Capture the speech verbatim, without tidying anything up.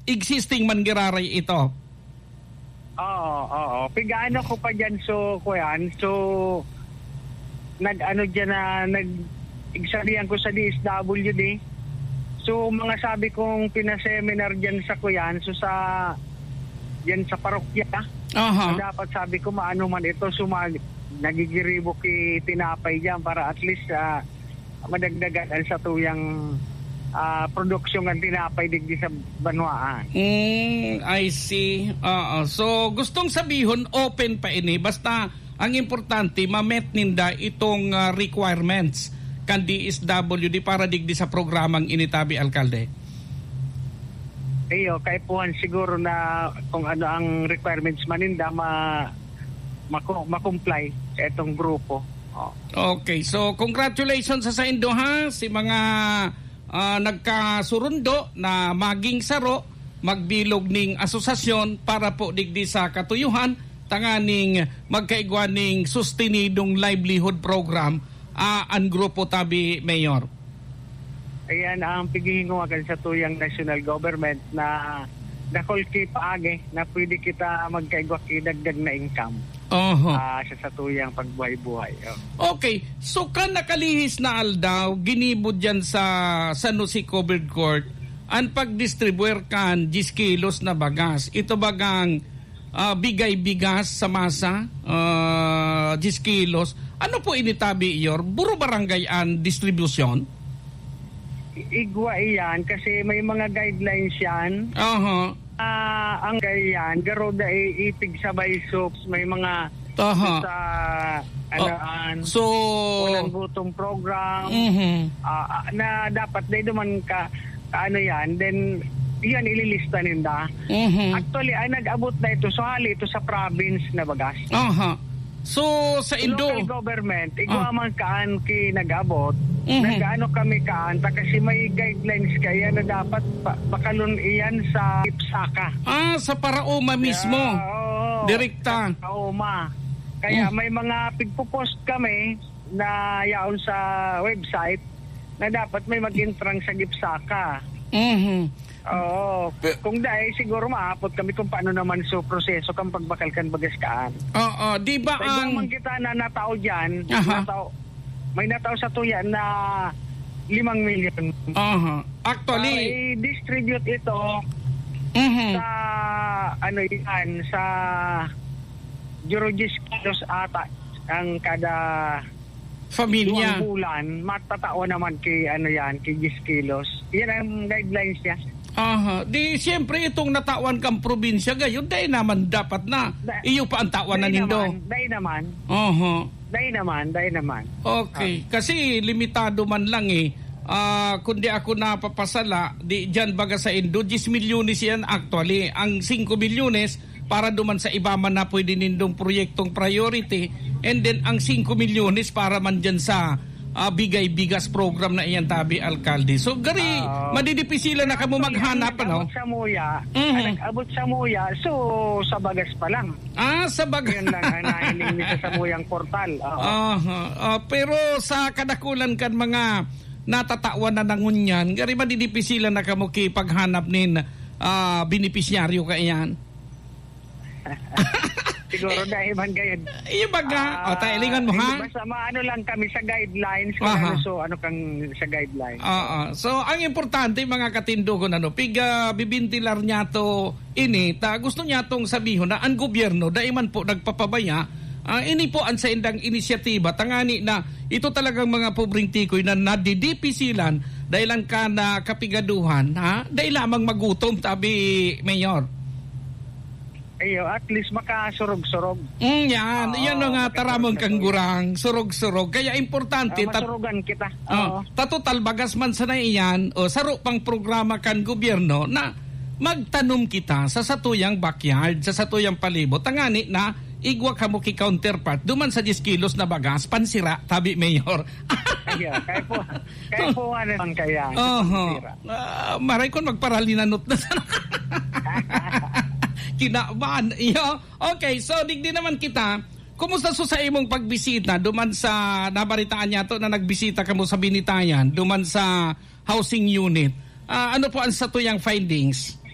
existing man giraray ito. Oo, oo. Pig-aano ko pa diyan, so, kuyan, so, nag-ano diyan na, nag-, igsabihan ko sa D S W D. So, mga sabi kong pinaseminar diyan sa kuyan, so, sa, diyan sa parokya, Aha. na dapat sabi ko, maano man ito, so, mag-, nagigiribo ki tinapay diyan para at least, ah, madagdagan ang satuyang, ah, produksyon ng tinapay digdi sa banwaan. Mm, I see. Oo. So, gustong sabihon, open pa ini. Basta, ang importante, ma-met ninda itong, ah, requirements kan D S W D para digdi sa programang ini, tabi, Alkalde. Iyo, kaipuhan siguro na kung ano ang requirements man ninda, ma-, maku-, ma-comply sa itong grupo. Oh. Okay, so congratulations sa saindo, ha, si mga, ah, nagkasurundo na maging saro, magbilog ning asosasyon para po digdi sa katuyuhan, tanganing magkaigwa ning sustenidong livelihood program, ah, an grupo, tabi, Mayor. Ayan ang pighihinguha kan satuyang national government na dakul ki paagi na pwede kita magkaigwa ki dagdag na income, Oho. ah, sa satuyang pagbuhay-buhay. Oh. Okay. So, kan nakalihis na aldaw, ginibo diyan sa San Jose Covered Court an pagdistribuer kan diyes kilos na bagas. Ito bagang, ah, bigay bigas sa masa, ah, diyes kilos. Ano po ini, tabi, Yor? Buro barangay an distribusyon? I-, igwa iyan kasi may mga guidelines yan. Aha. Ah, ang ganyan, garo da i-, ipigsabay, so, may mga Aha. sa, ano, Ah, an, so, unang gutom program, Mhm. ah, ah, na dapat dai duman ka, ka ano yan, then, yan, ililista ninda. Mhm. Actually, ay nag-abot na ito, so hali ito sa province na bagas. Aha. So, sa Indo- Local government, igwa Ah. man kaan ki nag-abot, Mhm. nag-ano kami kaan, ta kasi may guidelines kaya na dapat pa-, pakalon iyan sa ipsaka. Ah, sa Paraoma mismo. Yeah, oo. Direkta. Sa Paraoma. Kaya Mm. may mga pigpo-post kami na yaon sa website na dapat may mag-intrang sa gipsaka. Mhm. Oo. Pe- Kung dai, siguro maapot kami kung paano naman so proseso kan pagbakal kan bagas kaan. Oo, di ba Sa iba ang naman kita na natao dyan, Aha. natao, may natao sa tuya na limang milyon. Aha. Actually Para i-distribute ito Mhm. sa, ano yan, sa Juro diyes kilos ata ang kada Pamilya. duwang bulan, matatawan naman ki, ano yan, ki diyes kilos. Yan ang guidelines niya. Aha. Di, siyempre, itong natawan kang probinsya, gayon, dai naman dapat na Da-, iyo pa ang tawan na dai nindo. naman, dai naman. Aha. Dai naman, dai naman. Okay. Ah. Kasi limitado man lang eh. Ah, kung di ako napapasala, di dyan baga sa Indo, diyes milyones yan actually. Ang singko milyones, para duman sa iba man na pwede nindong proyektong priority, and then ang singko milyones para man dyan sa, ah, bigay bigas program na iyan, tabi, alkalde. So, gari, Ah, madidipisilan na kamo actually, maghanap, ang ano? nag-abot sa Muya, Mhm. ang nag-abot sa Muya, so, sa bagas pa lang. Ah, sa bagas. Yun lang ang nahiling ni sa Samuyang Portal. Oo. Aha. Ah, pero sa kadakulan kan mga natatawan na nangunyan, gari madidipisilan na kamo ki paghanap nin, ah, benepisyaryo kaiyan. Siguro dahil man gayon. Iyo baga? Ah, O, tayo, lingon mo, hindi, ha? basta maano lang kami sa guidelines kung Aha. ano, so, ano kang sa guidelines. Oo. So, ang importante, mga katindogon, ano, pig, ah, bibintilar niya to ini, ta gusto niya tong sabihon na ang gobyerno, dai man po nagpapabaya, ah, ini po ang saindang inisyatiba, tangani na ito talagang mga pobreng tikoy na nadidipisilan dahil lang ka na kapigaduhan, ha? Dai lamang magutom, tabi, Mayor. Ayo, at least makasurog-surog. Mm, yan. Oo, Yan ang, ah, makasurog-surog. taramon kang gurang, surog-surog. Kaya importante, Ah, tat-, masurugan kita. Oh, Oo. ta total bagas man sana iyan, o saro pang programa kan gobyerno na magtanom kita sa satuyang backyard, sa satuyang palibot. Tangani na, igwa kamo ki counterpart, duman sa diyes kilos na bagas, pansira, tabi, Mayor. Ayo, kaya po, kaya po nga naman kaya, Oho. pansira. Ah, maray kon magparalinanot na sana. Kinaban, iyo. Okay, so digdi naman kita. Kumusta so sa imong pagbisita duman sa, nabaritaan niya to na nagbisita kamo sa Binitayan, duman sa housing unit? Ah, ano po ang satuyang findings?